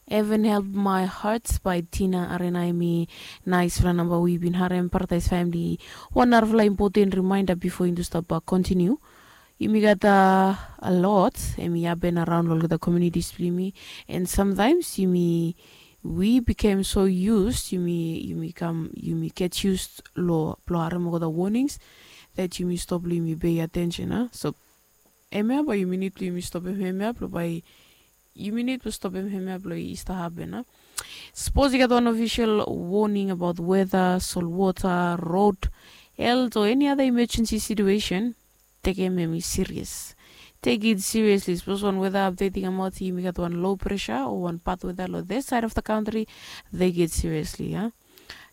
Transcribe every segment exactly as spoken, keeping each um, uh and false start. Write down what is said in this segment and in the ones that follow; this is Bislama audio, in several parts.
Heaven Help My Heart by Tina Arena. Hemi naesfala namba we yu bin harem. Paradise Family, wan narafala impoten rimaenda bifo yumi tu stap kontiniu. Yumi gat a lot hemi hapen araon long olgeta communities blong yumi, and sometimes yumi, we became so used, yumi yumi kam yumi get used long blong harem olgeta warnings that yumi stop long yumi pay attention a. So hemia bae yumi nid blong yumi stopim hemia blong bae yumi nid blong stopim hemia blong i stap hapen a. Sapos i gat wan ofisol warning abaot weta, solwota, rod, helt o eni ada emergency situation, tekem hemi serious. Tek it seriously. Sapos wan weta apdet i kamaot, yumi gat wan low pressure o wan bad weta long this side of the country, tek it seriously a.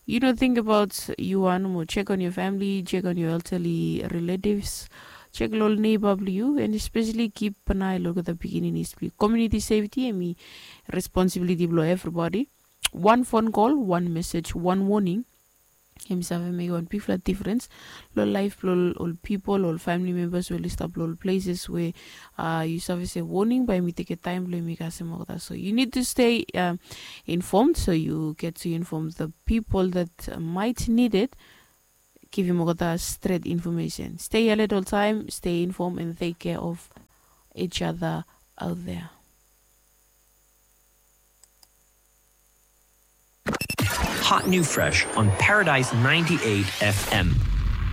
Yu no ting abaot yu wan mo check on your family, check on your elderly relatives, check long ol neighbor blong yu, and especially keep an eye long olgeta pikininis blong yu. Community safety hemi responsibility blong everybody. Wan phone call, wan message, wan warning, hemi save mekem wan bigfala difference long life blong ol people, ol family members we oli stap long ol places we, uh, yu save se warning bae hemi tekem taem blong hemi kasem olgeta. So you need to stay, um, informed, so you get to inform the people that, uh, might need it. Givim olgeta stret information. Stay alert oltaem, stay informed, and take care of each other out there. Hot new fresh on Paradise ninety-eight F M.